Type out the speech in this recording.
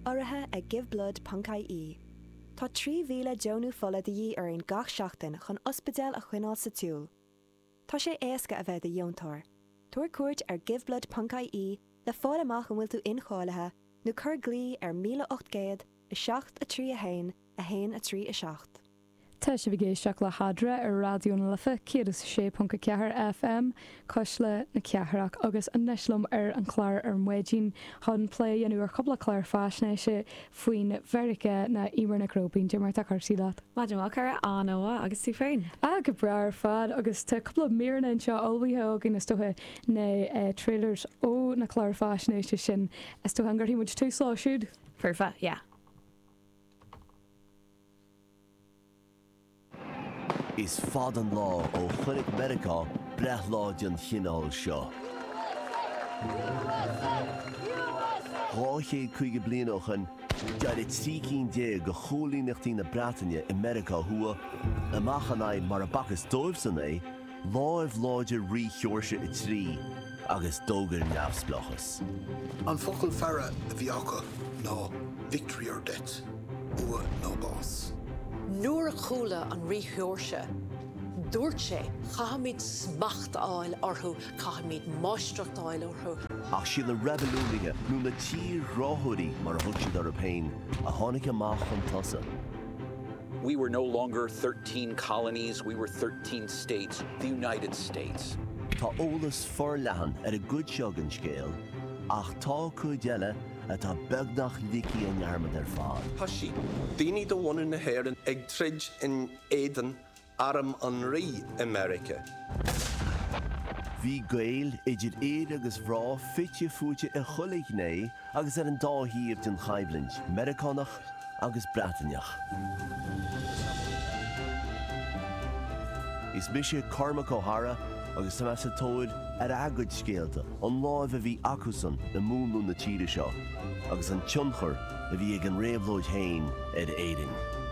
Urraithe ag Giveblood ponc ie. Tá 3,000 deonú fola de dhíth orainn gach seachtain chun ospidéil a choinneáil sa tsiúl. Tá sé éasca a bheith i do dheontóir. Tabhair cuairt ar Giveblood ponc ie le fáil amach an bhfuil tú incháilithe nó cuir glao ar 1800 7 3 1 1 3 7. Tá sibh ag éisteacht le hEadra ar Raidió na Life 106.4 FM, Cuisle na Cathrach, agus anois liom ar an chlár ar maidin chun plé a dhéanamh ar chúpla clár faisnéise faoin Mheiriceá ná Eimear Nic Róibín. Cad é mar atá cúrsaí leat? Maidin mhaith, a chara, an-mhaith, agus tú féin? Ah, go breá ar fad, agus tá cúpla míreanna anseo ullmhaithe againn, is dócha, na trailers ó na cláir faisnéise sin. Is dócha an gcuirfidh muid tús leo siúd? Foirfe, yeah. Is fada an lá ó chonaic Meiriceá breithlá den chineál seo. 250 bliain ó shin, d'éirigh 13 cinn de choilíneachtaí na Breataine i Meiriceá Thuaidh amach in aghaidh, mar a b'fhacthas dóibhsan é, láimh láidir Rí Sheoirse 3 agus d'fhógair neamhspleáchas. An focal faire a bhí acu ná victory or death, bua nó bás. Nuair a chuala an Rí Sheoirse, dúirt sé, caithfimid smacht a fháil orthu, caithfimid máistreacht a fháil orthu. Ach siad na reibiliúnaithe, nó na tírghráthóirí mar a thug siad orthu féin, a tháinig amach chun tosaigh. We were no longer 13 colonies, we were 13 states, the United States. Tá eolas forleathan ar an gcuid seo den scéal, ach tá cuid eile atá beagnach ligthe i ndearmad ar fad. Thoisigh daoine de bhunadh na hÉireann ag troid in éadan arm an Rí i Meiriceá. Bhí Gaeil, idir fhir agus mhná, fite fuaite i chuile ghné agus ar an dá thaobh den choimhlint, Meiriceánach agus Breataineach. Is mise Cormac Ó hEadhra agus tá mé sa tóir ar a gcuid scéalta, an láimh a bhí acusan i múnlú na tíre seo agus an tionchar a bhí ag an réabhlóid féin ar Éirinn.